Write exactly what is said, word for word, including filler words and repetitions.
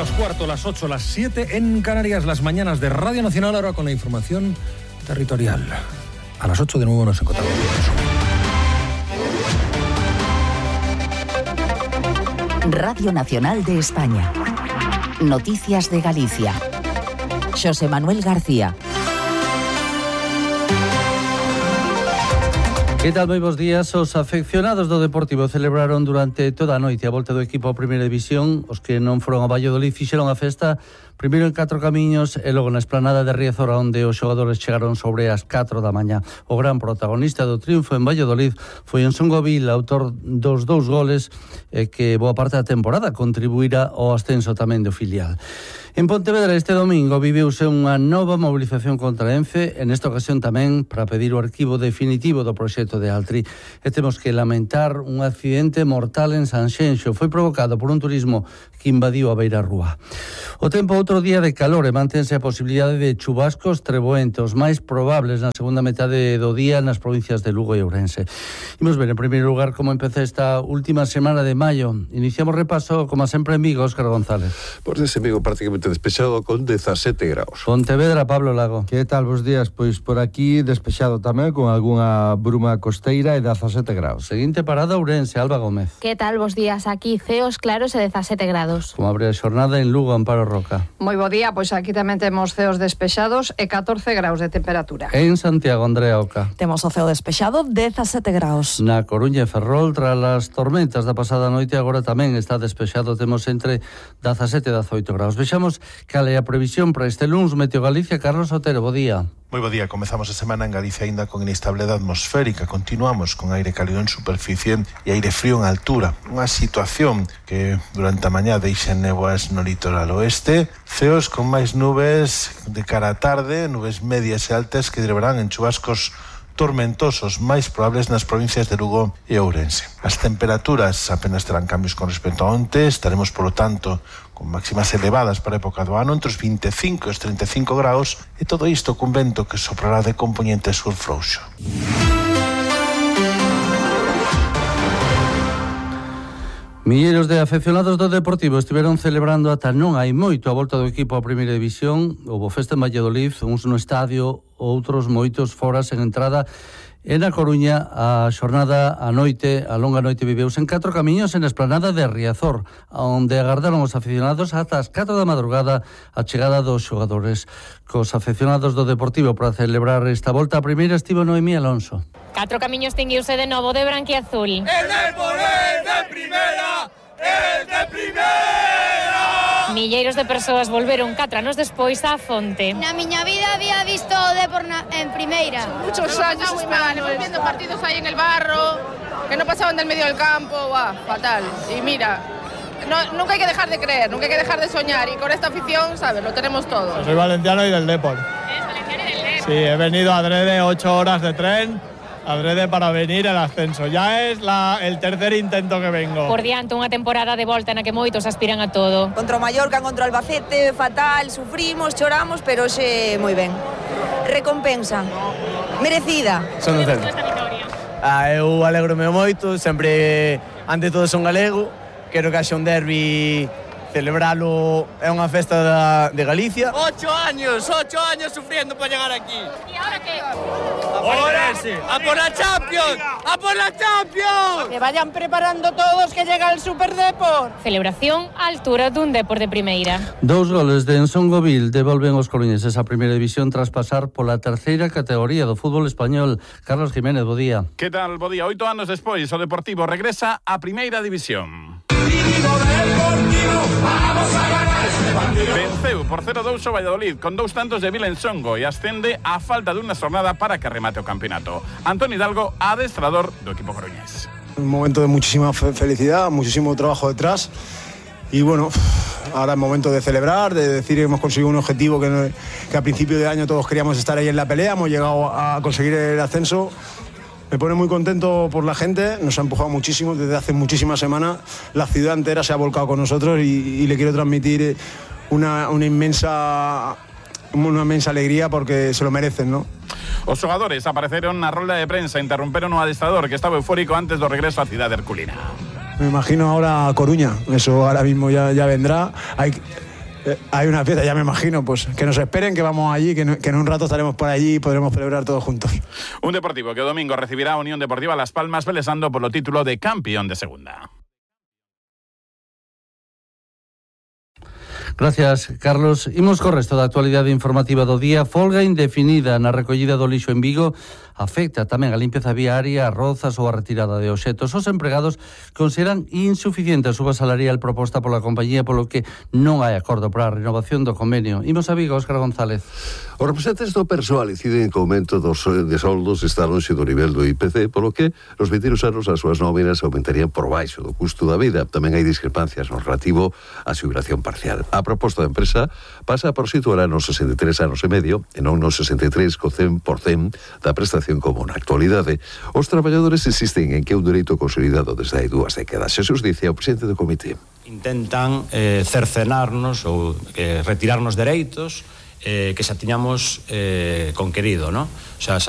menos cuarto, las ocho, las siete en Canarias, las mañanas de Radio Nacional, ahora con la información territorial. A las ocho de nuevo nos encontramos. Radio Nacional de España. Noticias de Galicia. Xosé Manuel García. Que tal, moi bons días. Os afeccionados do Deportivo celebraron durante toda a noite a volta do equipo a Primeira División. Os que non foron a Valladolid fixeron a festa primeiro en Catro Camiños e logo na esplanada de Riazor, onde os xogadores chegaron sobre as catro da mañá. O gran protagonista do triunfo en Valladolid foi Ensongovil, autor dos dous goles e que boa parte da temporada contribuirá ao ascenso tamén do filial. En Pontevedra este domingo viveuse unha nova mobilización contra Ence, en esta ocasión tamén para pedir o arquivo definitivo do proxecto de Altri. E temos que lamentar un accidente mortal en Sanxenxo. Foi provocado por un turismo que invadiu a beira rúa. O tempo outro día de calor e mantense a posibilidade de chubascos treboentos máis probables na segunda metade do día nas provincias de Lugo e Ourense. Imos ver en primeiro lugar como empeza esta última semana de maio. Iniciamos repaso, como sempre, en Vigo, Óscar González. Pois ese Vigo prácticamente despexado con dezasete graus. Pontevedra, Pablo Lago. Que tal, bos días? Pois por aquí despexado tamén con algunha bruma costeira e dezasete graus. Seguinte parada, Ourense, Alba Gómez. Que tal, bos días? Aquí ceos claros e dezasete grados. Como abre a xornada en Lugo, Amparo Roca. Moi bo día, pois aquí tamén temos ceos despexados e catorce graus de temperatura. En Santiago, Andrea Oca. Temos o ceo despexado, dezasete graus. Na Coruña e Ferrol, tras as tormentas da pasada noite, agora tamén está despexado, temos entre dezasete e dezaoito graus. Vexamos cal é a previsión para este luns. Meteo Galicia, Carlos Otero, bo día. Moi bo día, comezamos a semana en Galicia aínda con inestabilidade atmosférica, continuamos con aire cálido en superficie e aire frío en altura, unha situación que durante a mañá deixa néboas no litoral oeste, ceos con máis nubes de cara á tarde, nubes medias e altas que derivarán en chubascos tormentosos máis probables nas provincias de Lugo e Ourense. As temperaturas apenas terán cambios con respecto a onte, estaremos, polo tanto, con máximas elevadas para a época do ano, entre os vinte e cinco e os trinta e cinco graus, e todo isto cun vento que soprará de componente sur frouxo. Milleiros de afeccionados do Deportivo estiveron celebrando ata non hai moito a volta do equipo a Primeira División. Houbo festa en Valladolid, uns no estadio, outros moitos fora sen entrada. E na Coruña, a xornada, a noite, a longa noite viveuse en Catro Camiños en a esplanada de Riazor, onde agardaron os aficionados ata as catro da madrugada a chegada dos xogadores. Cos afeccionados do Deportivo para celebrar esta volta, a primeira estivo Noemí Alonso. Catro Camiños tinguiuse de novo de branquiazul. El Depor é de primeira, é de primeira. Milleiros de persoas volveron catro anos despois á fonte. Na miña vida había visto o Depor na, en primeira. Muchos años esperando, viendo partidos ahí en el barro, que no pasaban del medio del campo, va, fatal. Y mira, no, nunca hay que dejar de creer, nunca hay que dejar de soñar, y con esta afición, ¿sabes? Lo tenemos todo. Soy valenciano y del Depor. ¿Eres valenciano y del Depor? Sí, he venido adrede ocho horas de tren, adrede para venir al ascenso. Ya es la, el tercer intento que vengo. Por diante, unha temporada de volta na que moitos aspiran a todo. Contra o Mallorca, contra o Albacete, fatal, sufrimos, choramos, pero xe moi ben. Recompensa merecida. Son do centro. Ah, eu alegrome moito, sempre, ante todo, son galego. Quero que haxa un derbi, celebralo, é unha festa da, de Galicia. Ocho años, ocho años sufriendo para llegar aquí. ¿Y ahora qué? Ahora, a por la Champions, a por la Champions. Que vayan preparando todos que llega el Super Depor. Celebración á altura dun Depor de primeira. Dous goles de Ensongovil devolven os coruñeses a Primeira División tras pasar pola terceira categoría do fútbol español. Carlos Jiménez, bo día. Que tal, bo día? Oito anos despois, o Deportivo regresa a Primeira División. Venceu por cero dous o Valladolid con dous tantos de Vila Ensongo e ascende a falta dunha xornada para que remate o campeonato. Antonio Hidalgo, adestrador do equipo coruñés. Un momento de muchísima fe- felicidad, muchísimo trabajo detrás y bueno, ahora es momento de celebrar, de decir que hemos conseguido un objetivo que, no, que a principio de año todos queríamos estar ahí en la pelea, hemos llegado a conseguir el ascenso. Me pone muy contento por la gente, nos ha empujado muchísimo desde hace muchísimas semanas, la ciudad entera se ha volcado con nosotros y, y le quiero transmitir una, una inmensa una inmensa alegría porque se lo merecen, ¿no? Os xogadores apareceron na rolda de prensa, interromperon o adestrador que estaba eufórico antes do regreso á cidade herculina. Me imagino ahora a Coruña, eso ahora mismo ya, ya vendrá. Hay, eh, hay una fiesta, ya me imagino, pues que nos esperen, que vamos allí, que, no, que en un rato estaremos por allí y podremos celebrar todos juntos. Un Deportivo que o domingo recibirá a Unión Deportiva Las Palmas pelesando polo título de campeón de segunda. Gracias, Carlos. Imos co resto da actualidade informativa do día. Folga indefinida na recollida do lixo en Vigo afecta tamén a limpeza viaria, a rozas ou a retirada de obxetos. Os empregados consideran insuficiente a suba salarial proposta pola compañía, polo que non hai acordo para a renovación do convenio. Imos a Vigo, Óscar González. Os representantes do persoal inciden que o aumento dos de soldos está lonxe do nivel do I P C, polo que nos vindeiros anos as súas nóminas aumentarían por baixo do custo da vida. Tamén hai discrepancias no relativo á xubilación parcial. A proposta da empresa pasa por situar nos sesenta e tres anos e medio e non nos sesenta e tres co cen por cento da prestación como na actualidade. Os traballadores insisten en que é un dereito consolidado desde hai dúas décadas. Xesús dice ao presidente do comité. Intentan eh, cercenarnos ou eh, retirarnos dereitos eh, que xa tiñamos eh, conquerido, ¿no? O sea,